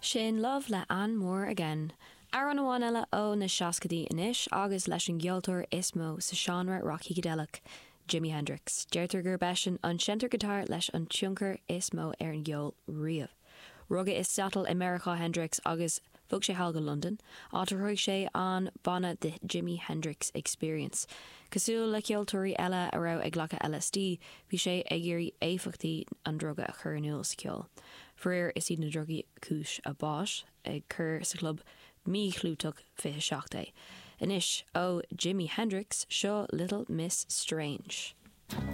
Sin Love le Ann Moore Again. Amhrán amháin eile ó na seascaidí anois agus leis an gceoltóir is mó sa seánra rac-shícideileach, Jimi Hendrix. Deirtear gurb eisean an seinnteoir giotáir leis an tionchar is mó ar an gceol riamh. Rugadh i Seattle i Meiriceá Hendrix agus bhog sé thall go Londain, áit ar chruthaigh sé an banna The Jimi Hendrix Experience. Cosúil le ceoltóirí eile a raibh ag glacadh LSD, bhí sé ag iarraidh éifeachtaí an druga a chur in iúl sa cheol. Faraor, is iad na drugaí cúis a bháis, ag cur sa chlub míchlúiteach 27 é. Anois, ó Jimi Hendrix, seo Little Miss Strange.